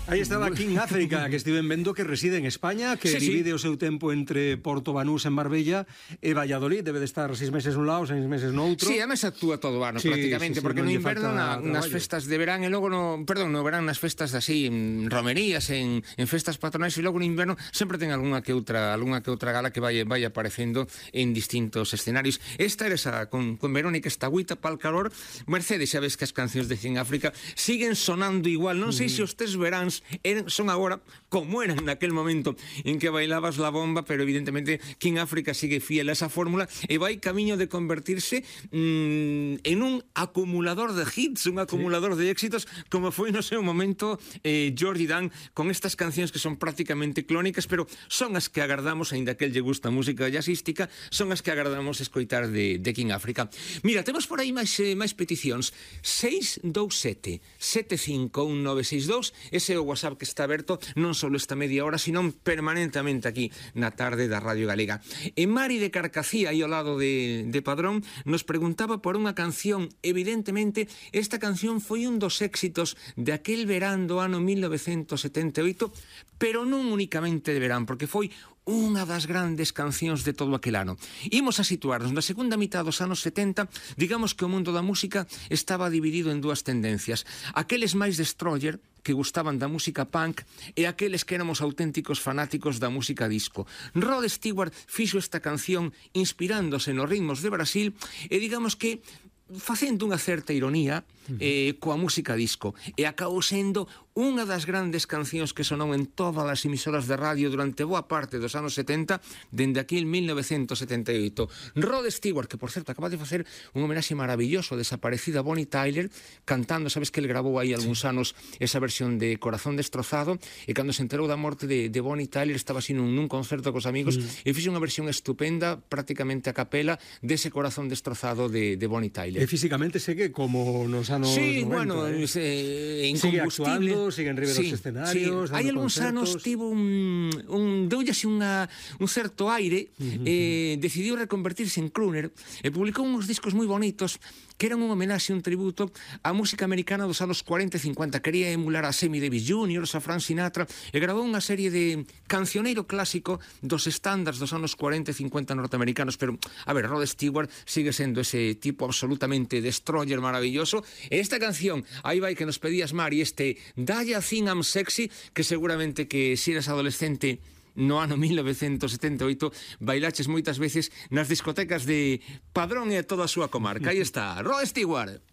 Aí estaba King África, que estiven vendo que reside en España, que divide o seu tempo entre Porto Banús en Marbella e Valladolid. Debe de estar 6 meses nun lado, 6 meses no outro. Sí, además actúa todo o ano prácticamente, porque no inverno nas festas de verán e logo no verán nas festas así, en romerías, en festas patronais, e logo no inverno sempre ten algunha que outra gala que vai aparecendo en distintos escenarios. Esta era esa con Verónica Estagüita pal calor. Mercedes, xa ves que as cancións de King África siguen sonando igual. Non sei se os tes veráns son agora como eran naquel momento en que bailabas la bomba, pero evidentemente King África sigue fiel a esa fórmula e vai camiño de convertirse en un acumulador de hits, un acumulador de éxitos, como foi no seu momento Georgie Dan, con estas cancións que son prácticamente clónicas, pero son as que agardamos, aínda que el lle gusta a música jazzística, son as que agardamos escoitar de King África. Mira, temos por aí máis peticións. 627 751 962, ese é o WhatsApp que está aberto non só esta media hora, sino permanentemente aquí na tarde da Radio Galega. E Mari de Carcacía, aí ao lado de Padrón, nos preguntaba por unha canción. Evidentemente, esta canción foi un dos éxitos de aquel verán do ano 1978, pero non únicamente de verán, porque foi unha das grandes cancións de todo aquel ano. Imos a situarnos na segunda mitad dos anos 70. Digamos que o mundo da música estaba dividido en dúas tendencias: aqueles máis destroyer, que gustaban da música punk, e aqueles que éramos auténticos fanáticos da música disco. Rod Stewart fixo esta canción inspirándose nos ritmos de Brasil e digamos que facendo unha certa ironía coa música disco, e acabou sendo unha das grandes cancións que sonou en todas as emisoras de radio durante boa parte dos anos 70, dende aquí en 1978. Rod Stewart, que por certo acaba de facer un homenaxe maravilloso a desaparecida Bonnie Tyler, cantando, sabes que ele grabou aí algúns anos esa versión de Corazón Destrozado, e cando se enterou da morte de Bonnie Tyler estaba así nun concerto cos amigos e fixe unha versión estupenda, prácticamente a capela, dese Corazón Destrozado de Bonnie Tyler. E físicamente segue como nos anos 90, bueno, sigue actuando, sigue en riba dos escenarios, hai algúns anos tivo deulle así un certo aire, decidiu reconvertirse en crooner e publicou uns discos moi bonitos que eran un homenaxe, un tributo á música americana dos anos 40 e 50. Quería emular a Sammy Davis Jr., a Frank Sinatra, e gravou unha serie de cancioneiro clásico dos estándares dos anos 40 e 50 norteamericanos. Pero, a ver, Rod Stewart sigue sendo ese tipo absolutamente destroyer maravilloso. E esta canción, aí vai que nos pedías, Mari, Daya Think I'm Sexy, que seguramente que si eres adolescente no ano 1978 bailaches moitas veces nas discotecas de Padrón e toda a súa comarca. Aí está, Rod Stewart.